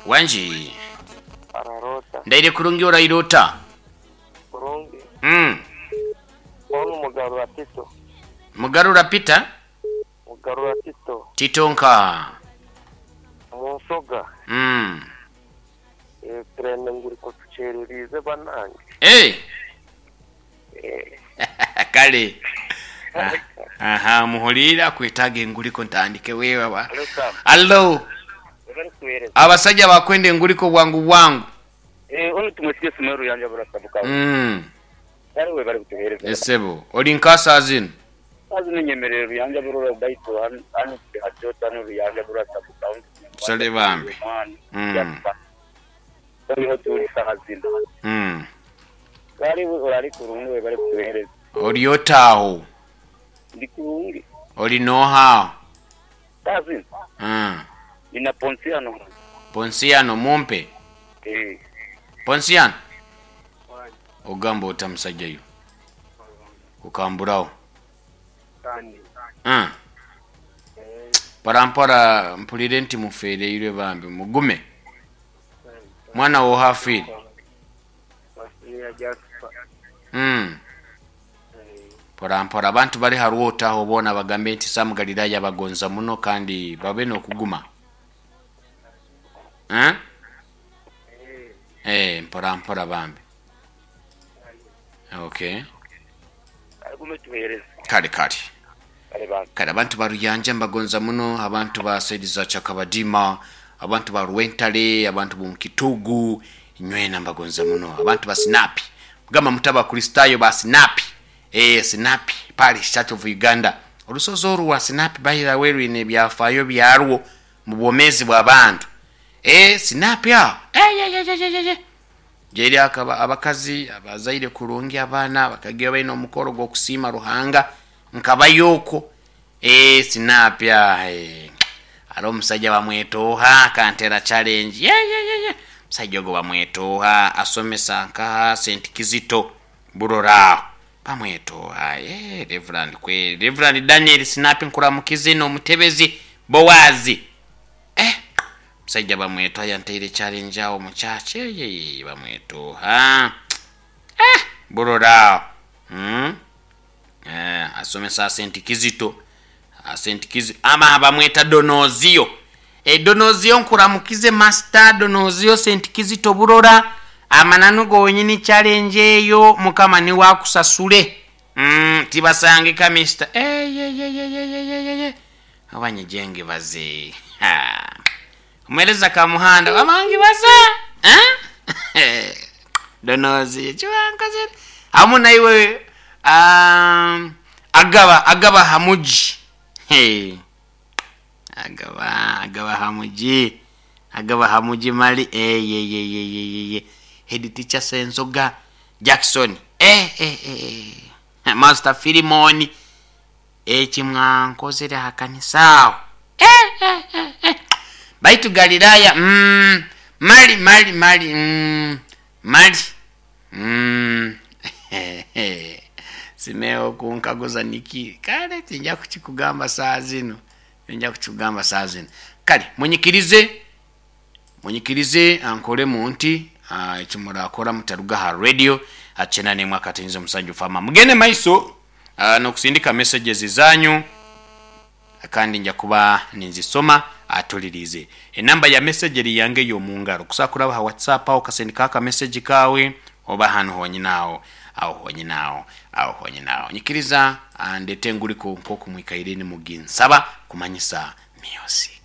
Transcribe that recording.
Wangi. Ararota. Ndaire kurungi oraire ota? Kurungi. Mm. Onu Mugarura Tito. Mugarura Peter? Mugarura Tito. Tito nka? Mu nsoga. Mm. Eh, turenda nguriko tukyereriize banange. Eh. Eh. Kale. Aha, muhuliire akwetaaga enguliko ntandike wewa. Hello, Sam. Allo. Webale kuweereza. Abasajja bakwenda enguliko bwangu bwangu. Eh, onu tumwesige Sumeru Ruyanja Burasabuka. Kale webale kutuheereza. Esebo, oli nka zino? Kazi ninyemerere Ruyanja Burora baitu hanu hajota hanu Ruyanja Burasabuka. Sale bambi. Turiho turi saha zino. Kale orali kurungi webale kutuheereza. Oli otaawo? Ndi kurungi. Oli n'oha? Kazi. Nina Ponsiano. Ponsiano mumpe. Eh. Ponsiano. Ogamba ota musajja yo? Kukamburawo. Kandi. Mpora mpulire nti mufeereirwe bambi mugume. Mwana wo hafiire. Mpora mpora abantu bari harwota aho boona bagambe nti Sam Galilaya bagonza muno kandi babe n'okuguma. Eh? Eh, mpora mpora bambi. Okay. Gume tuheereze. Kale kale. Kale bambi. Kale abantu ba Ruyanja mbagonza muno, abantu ba saidi za Chakabadima, abantu ba Rwentale, abantu b'omu Kitugu, nywena mbagonza muno, abantu ba Sinapi. Mugamba mutaba Kristayo ba Sinapi. Eh, Sinapi, Parish Church of Uganda. Olusozi olwo wa Sinapi bahira werwine ebyafaayo byarwo mu bwomeezi bw'abantu. Eh, Sinapi aho. Eh, ye, ye, ye, ye, ye. Gyeri akaba abakazi abazaire kurungi abaana bakagira balina omukoro gw'okusiima Ruhanga nkabayoko. Eh, Sinapi aho. Eh. Ate omusajja bamwetooha kantera challenge. Ye, ye, ye, ye. Omusajja ogwo bamwetooha asomesa nkaha St. Kizito Burora aho. Bamwetooha. Eh, Reverend kwe Reverend Daniel Sinapi nkuramukize n'omutebezi Bowazi. Eh, musajja bamwetooha yanteire challenge awo mu church. Ye, ye, ye, bamwetooha. Eh, Burora aho. Eh, asomesa St. Kizito. St. Kizito ama bamweta Donozio. E Donozio nkuramukize Master Donozio St. Kizito Burora. Amananu gonyini challenge eyo mukama ni wakusasule. Tibasangika Mr. Eh, ye, ye, ye, ye, ye, ye, ye, ye. Abanyejenge baze. Ha. Omuhereza Kamuhanda amangi baza. Eh? Donozio chiwankaze. Hamu naiwe agaba hamuji. Hey. Agaba hamuji. Agaba hamuji mali. Eh, ye, ye, ye, ye, ye, ye. Head teacher Senzoga Jackson. Eh, eh, eh, eh. Master Filimoni. Ekimwankozere hakanisa aho. Eh, eh, eh, eh. Baitu Galilaya. Mali, mali, mali. Mali. Simeo kunkaguza niki. Kale tinja kukikugamba saa zino. Tinja kukikugamba saa zino. Kale munyikirize ankole mu nti ekimurakora mutaruga ha radio achena nemwe akatinze omusajja fama. Mugende maiso n'okusindika messages zanyu kandi nja kuba ninzisoma atulirize. Enamba ya message eri yange y'omungaro. Kusakura ha WhatsApp aho kasindika aka message kawe oba hano honyinao aho honyinao aho honyinao. Nyikiriza ndete nguliko nkoku mwikaireni muginsaba kumanyisa music.